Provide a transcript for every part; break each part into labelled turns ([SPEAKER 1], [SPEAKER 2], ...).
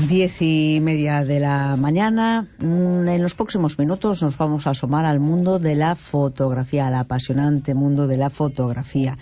[SPEAKER 1] 10:30 de la mañana. En los próximos minutos nos vamos a asomar al mundo de la fotografía, al apasionante mundo de la fotografía.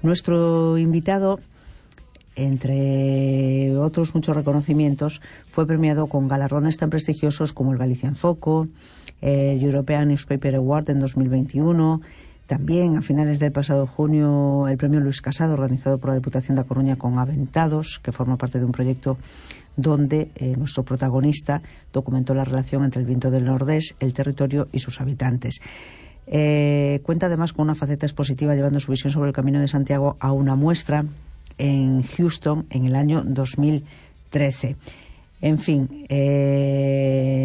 [SPEAKER 1] Nuestro invitado, entre otros muchos reconocimientos, fue premiado con galardones tan prestigiosos como el Galician Foco, el European Newspaper Award en 2021, también a finales del pasado junio el premio Luis Casado, organizado por la Diputación da Coruña con Aventados, que forma parte de un proyecto donde nuestro protagonista documentó la relación entre el viento del Nordés, el territorio y sus habitantes. Cuenta además con una faceta expositiva, llevando su visión sobre el Camino de Santiago a una muestra en Houston en el año 2013. En fin,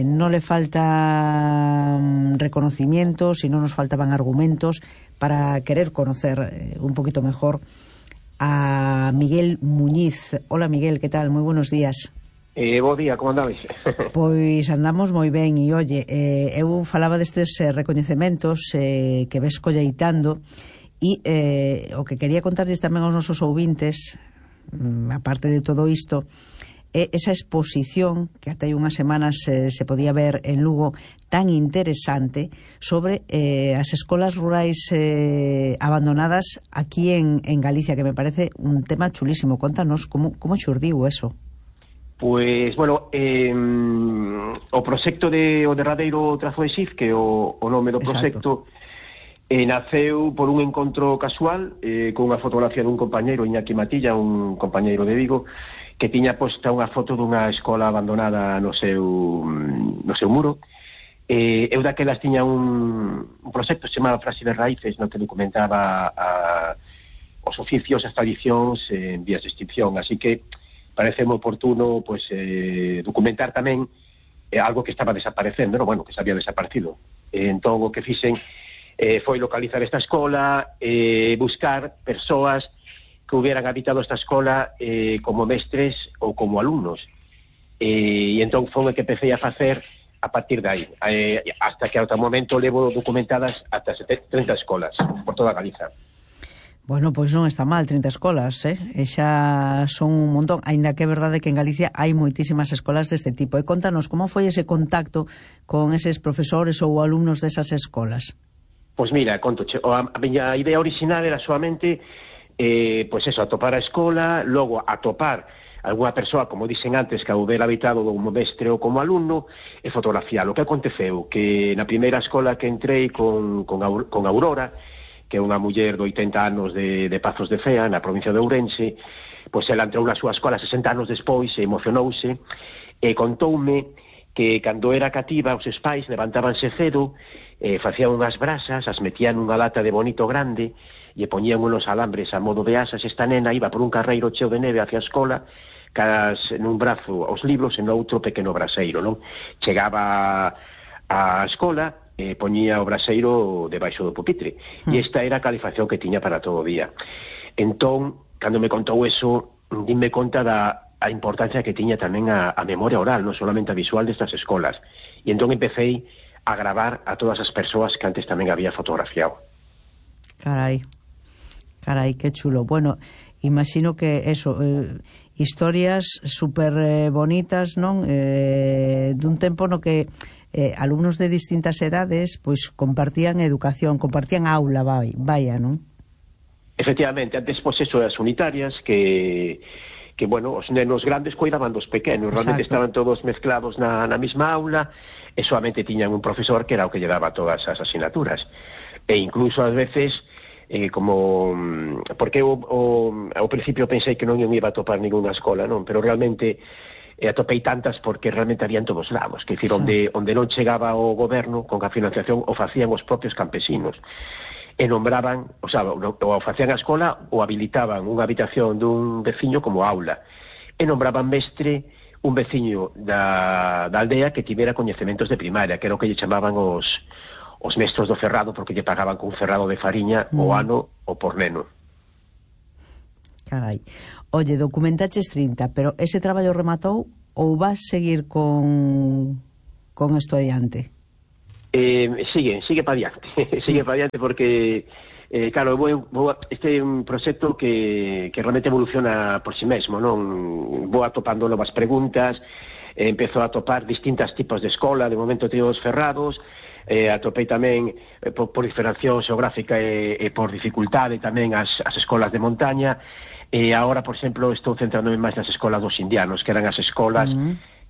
[SPEAKER 1] no le faltan reconocimientos y no nos faltaban argumentos para querer conocer un poquito mejor a Miguel Muñiz. Hola Miguel, ¿qué tal? Muy buenos días.
[SPEAKER 2] Bo día, como andades?
[SPEAKER 1] Pois andamos moi ben e, oye, eu falaba destes recoñecementos que ves colleitando e o que quería contarles tamén aos nosos ouvintes, aparte de todo isto, esa exposición que ata hai unhas semanas se podía ver en Lugo, tan interesante, sobre as escolas rurais abandonadas aquí en Galicia, que me parece un tema chulísimo. Contanos como xurdiu eso.
[SPEAKER 2] Pois, bueno, o proxecto o derradeiro trazo de XIF, que o nome do proxecto, naceu por un encontro casual con unha fotografía dun compañeiro, Iñaki Matilla, un compañeiro de Vigo, que tiña posta unha foto dunha escola abandonada no seu muro. Eu daquelas tiña un proxecto chamado Frase de Raíces, no que documentaba os oficios, as tradicións en vías de extinción, así que parece moi oportuno documentar tamén algo que estaba desaparecendo, bueno, que se había desaparecido. Entón o que fixen foi localizar esta escola, buscar persoas que hubieran habitado esta escola como mestres ou como alumnos, e entón foi o que empecé a facer a partir de aí, hasta que ata o momento levo documentadas ata 30 escolas por toda Galiza.
[SPEAKER 1] Bueno, pois non está mal, 30 escolas, e xa son un montón, aínda que é verdade que en Galicia hai moitísimas escolas deste tipo. E contanos, como foi ese contacto con eses profesores ou alumnos desas escolas?
[SPEAKER 2] Pois mira, contoche, a miña idea original era solamente atopar a escola, logo atopar algunha persoa, como dixen antes, que houbera habitado como mestre ou como alumno, e fotografiar. O que aconteceu? Que na primeira escola que entrei con Aurora, que é unha muller de 80 anos de Pazos de Cea, na provincia de Ourense, pois ela entrou na súa escola 60 anos despois e emocionouse e contoume que cando era cativa os seus pais levantábanse cedo, facían unhas brasas, as metían nunha lata de bonito grande e poñían unos alambres a modo de asas. Esta nena iba por un carreiro cheo de neve hacia a escola, nun brazo aos libros e no outro pequeno braseiro, non? Chegaba á escola, poñía o braseiro debaixo do pupitre, e esta era a calificación que tiña para todo o día. Entón, cando me contou eso, dime conta a importancia que tiña tamén a memoria oral, non solamente a visual destas escolas, e entón empecé a gravar a todas as persoas que antes tamén había fotografiado.
[SPEAKER 1] Carai, que chulo. Bueno, imagino que eso, historias super bonitas, non? Dun tempo no que alumnos de distintas edades pois compartían educación, compartían aula, vaya, non?
[SPEAKER 2] Efectivamente, antes pois eso, as unitarias que bueno, os nenos grandes cuidaban dos pequenos. Realmente estaban todos mezclados na mesma aula e solamente tiñan un profesor que era o que lle daba todas as asignaturas. E incluso ás veces porque eu ao principio pensei que non iba a topar ninguna escola, non? Pero realmente atopei tantas porque realmente había en todos lados, que dicir, onde non chegaba o goberno con a financiación o facían os propios campesinos e nombraban, o facían a escola ou habilitaban unha habitación dun veciño como aula e nombraban mestre un veciño da aldea que tivera coñecementos de primaria, que era o que lle chamaban os mestros do ferrado, porque lle pagaban con un ferrado de fariña o ano ou por neno.
[SPEAKER 1] Carai. Oye, documentaches 30, pero ese traballo rematou ou vas seguir con isto adiante?
[SPEAKER 2] Sigue para adiante. Sigue para adiante porque claro, este é un proxecto que realmente evoluciona por si mesmo, non? Vou atopando novas preguntas, empezo a atopar distintos tipos de escola, de momento teos cerrados, atopei tamén por diferenciación xeográfica e por dificultade tamén as escolas de montaña, e agora, por exemplo, estou centrándome máis nas escolas dos indianos, que eran as escolas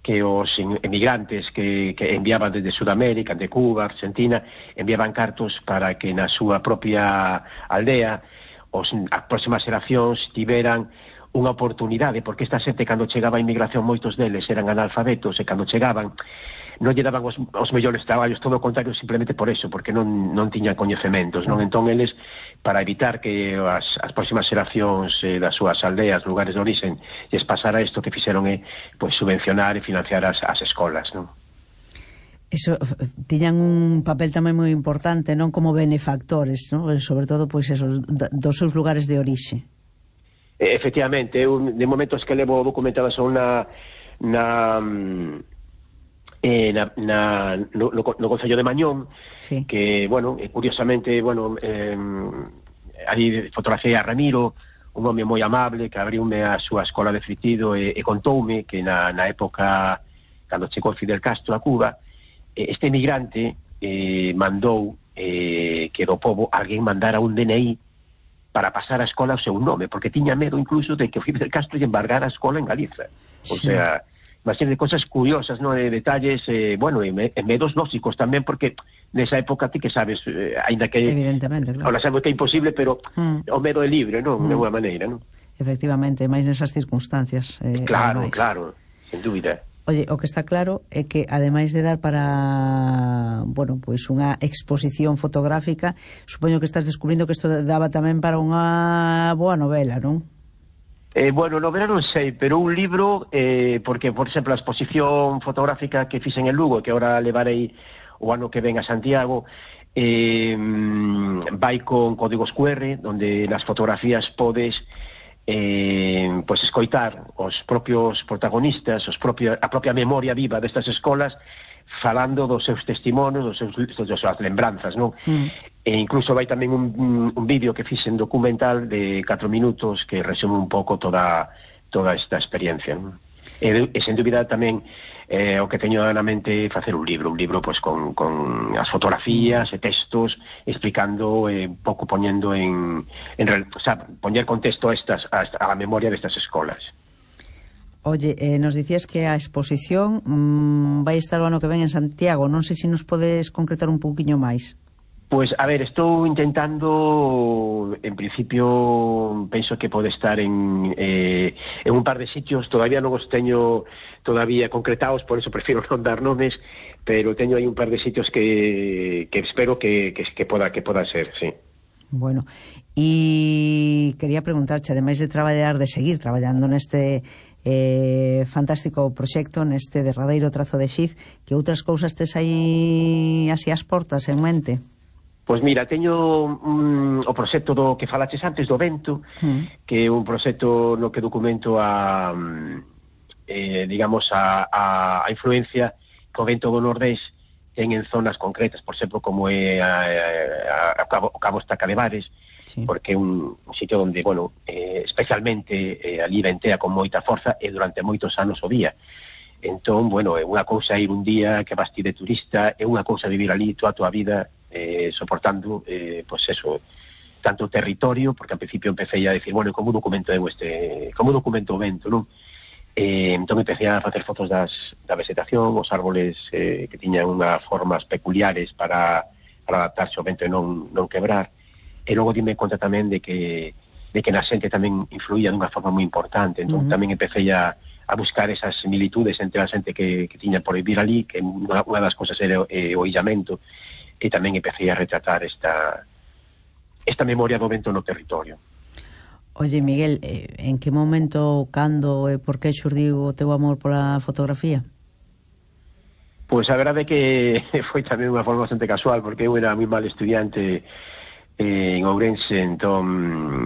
[SPEAKER 2] que os emigrantes que enviaban desde Sudamérica, de Cuba, Argentina, enviaban cartos para que na súa propia aldea as próximas xeracións tiveran unha oportunidade, porque esta xente, cando chegaba a inmigración, moitos deles eran analfabetos, e cando chegaban non lle daban os mellores traballos, todo o contrario, simplemente por eso, porque non tiñan coñecementos, non? Entón eles, para evitar que as próximas xeracións das súas aldeas, lugares de orixen, lles pasara isto, que fixeron pois subvencionar e financiar as escolas, non?
[SPEAKER 1] Eso, tiñan un papel tamén moi importante, non, como benefactores, non? Sobre todo, pois, esos dos seus lugares de orixe.
[SPEAKER 2] Efectivamente, eu de momentos que levo documentadas son no Concello de Mañón, sí. Que, bueno, curiosamente, bueno, aí fotografía a Ramiro, un home moi amable que abriume a súa escola de fritido e contoume que na época, cando chegou Fidel Castro a Cuba, este emigrante mandou que do pobo alguén mandara un DNI para pasar a escola ao seu nome, porque tiña medo incluso de que Fidel Castro lle embargara a escola en Galiza. O sea, uma serie de cosas curiosas, ¿no? De detalles, bueno, e medos lóxicos tamén, porque nesa época ti que sabes, ainda que
[SPEAKER 1] evidentemente, claro.
[SPEAKER 2] Ahora sabemos que é imposible, pero o medo é libre, non? De alguma maneira, non?
[SPEAKER 1] Efectivamente, máis nesas circunstancias.
[SPEAKER 2] Claro, sen dúbida.
[SPEAKER 1] Oye, o que está claro é que, ademais de dar para, bueno, pois unha exposición fotográfica, supoño que estás descubrindo que isto daba tamén para unha boa novela, non?
[SPEAKER 2] Bueno, novela non sei, pero un libro, porque, por exemplo, a exposición fotográfica que fixen en Lugo, que agora levarei o ano que ven a Santiago, vai con códigos QR, donde nas fotografías podes pois escoitar os propios protagonistas, a propia memoria viva destas escolas, falando dos seus testimonios, das súas lembranzas, non? E incluso vai tamén un vídeo que fixen documental de 4 minutos que resume un pouco toda esta experiencia, non? E sen dúbida tamén o que teño na mente facer un libro pois con as fotografías e textos explicando un pouco poñendo o sea, poñer contexto a memoria destas escolas.
[SPEAKER 1] Oye, nos dicías que a exposición vai estar o ano que ven en Santiago, non sei se nos podes concretar un pouquiño máis.
[SPEAKER 2] Pois, a ver, estou intentando, en principio, penso que pode estar en un par de sitios, todavía non os teño todavía concretados, por eso prefiero non dar nomes, pero teño aí un par de sitios que espero que poda ser, sí.
[SPEAKER 1] Bueno, e quería preguntarche, ademais de seguir traballando neste fantástico proxecto, neste derradeiro trazo de Xiz, que outras cousas tes aí así ás portas en mente?
[SPEAKER 2] Pois mira, teño o proxecto do que falaches antes, do vento, que é un proxecto no que documento digamos, a influencia que o vento do Nordés ten en zonas concretas, por exemplo, como é o Cabo Estaca de Bares, porque é un sitio onde, bueno, especialmente ali ventea con moita forza e durante moitos anos o día. Entón, bueno, é unha cousa ir un día que vas ti de turista, é unha cousa vivir ali toda a tua vida soportando, pois eso, tanto o territorio, porque ao principio empecé a decir, bueno, como documento o vento, non? Entón empecé a facer fotos da vegetación, os árboles que tiñan unhas formas peculiares para adaptarse ao vento e non quebrar, e logo dime conta tamén de que na xente tamén influía dunha forma moi importante, entón tamén empecé a buscar esas similitudes entre a xente que tiña por vivir ali, que unha das cosas era o illamento, e tamén empecé a retratar esta memoria do vento no territorio.
[SPEAKER 1] Oye, Miguel, en que momento, cando e por que xurdiu o teu amor pola fotografía?
[SPEAKER 2] Pois a verdade é que foi tamén unha forma bastante casual, porque eu era moi mal estudiante en Ourense, entón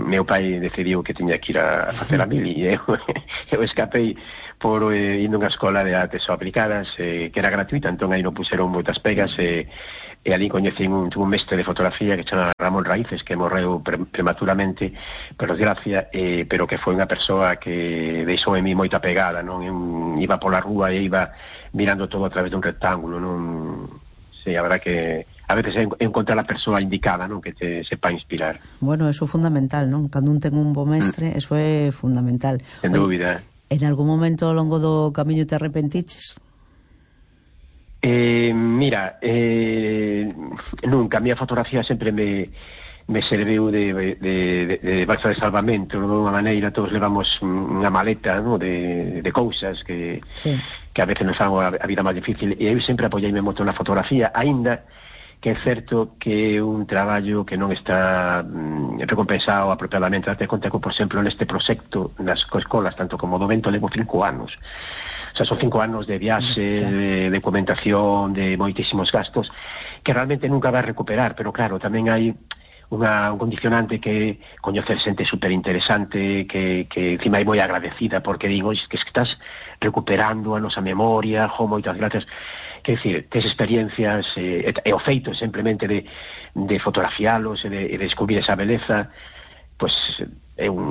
[SPEAKER 2] meu pai decidiu que tiña que ir a facer a mili e eu escapei por indo a unha escola de artes aplicadas que era gratuita, entón aí non puseron moitas pegas e ali coñecín un mestre de fotografía que chama Ramón Raíces, que morreu prematuramente por desgracia, pero que foi unha persoa que deixou en mí moita pegada, non? Iba pola rúa e iba mirando todo a través dun rectángulo, non? Sí, a verdad que a veces encontrar a persoa indicada, non, que te sepa inspirar.
[SPEAKER 1] Bueno, eso é fundamental, non? Cando un ten un bo mestre, eso é fundamental.
[SPEAKER 2] Sen dúbida.
[SPEAKER 1] En algún momento ao longo do camiño te arrepentiches?
[SPEAKER 2] Mira, nunca. A miña fotografía sempre me serviu de balsa de salvamento, de unha maneira. Todos levamos unha maleta, ¿no? de cousas que a veces nos fan a vida máis difícil, e eu sempre apoiaime moito na fotografía, aínda que é certo que é un traballo que non está recompensado apropiadamente. Date conta que, por exemplo, neste proxecto nas escolas, tanto como do Vento, levo 5 anos. O sea, son 5 anos de viaxe, de documentación, de moitísimos gastos, que realmente nunca vai recuperar, pero claro, tamén hai un condicionante que coñecer xente superinteresante que encima é moi agradecida, porque digo, que estás recuperando a nosa memoria, moitas gracias. Quer dicir, tes experiencias e o feito simplemente de fotografialos e de descubrir esa beleza, pois é un